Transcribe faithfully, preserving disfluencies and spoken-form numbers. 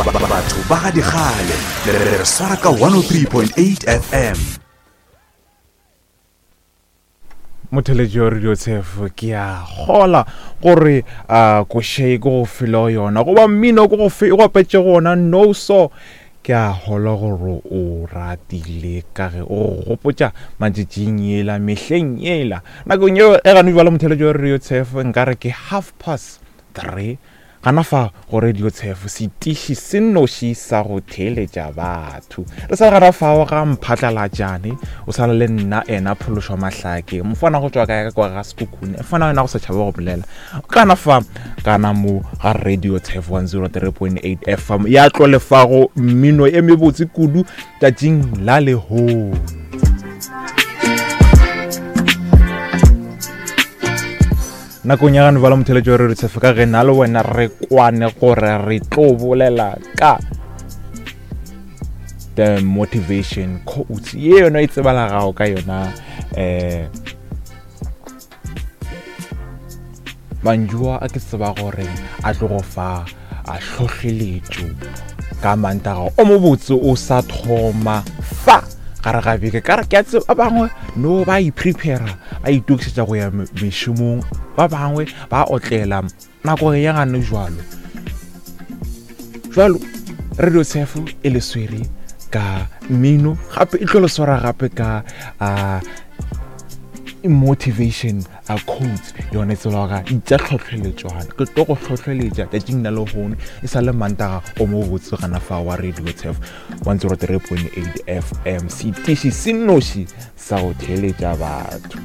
Batho ba ga dikgale le re swara ka one oh three point eight F M. Motheletši wa Radio Tshefo, ke a kgola gore a koše ke go felo yona goba mmino ke go fe go apetše gona no so ke a hola gore o ratile ka ge o gopotša matšatšing yela mehleng yela nakong yeo e gane jwale. Motheletši wa Radio Tshefo, nkare ke half past three gana fa go Radio Tshefo, setiši se nnoši sa go theeletša batho. Re sa gana fao ga Mphatlalatšane, o sa le nna ena Phološwa Mahlake, mofana go tšwa kae ka kwa ga Sekhukhune, mofana wena go sa tšhaba go bolela kana fa kana mo ga Radio Tshefo one oh three point eight F M ya tlo lefago mmino e mebotse kudu tšatšing la lehono. Nakong ya gane bala motheletši wa Radio Tshefo, ka ge nna le wena re kwane gore re tlo bolela ka the motivation quotes ye yona e tsebalagago ka yona eh mantšu a ke tseba gore a tlo go fa a hlohleletšo ka mantaga o mobotse o sa thoma fa gare ga beke. Ka re ke a tseba ba bangwe no ba iprepara ba itokišetša go ya mešomong, ba bangwe ba otlela nako ya gane jwalo jwalo. Radio Tshefo e le swere ka mmino, gape e tlo le swara gape ka uh, motivation a quotes yone tsela ga itša tlhotlheletšwana. Ke tlo go hlohleletša tšatšing la lehono e sa le mantaga o mo botse gana fa wa Radio Tshefo one oh three point eight F M, setiši se nnoši sa go theeletša batho.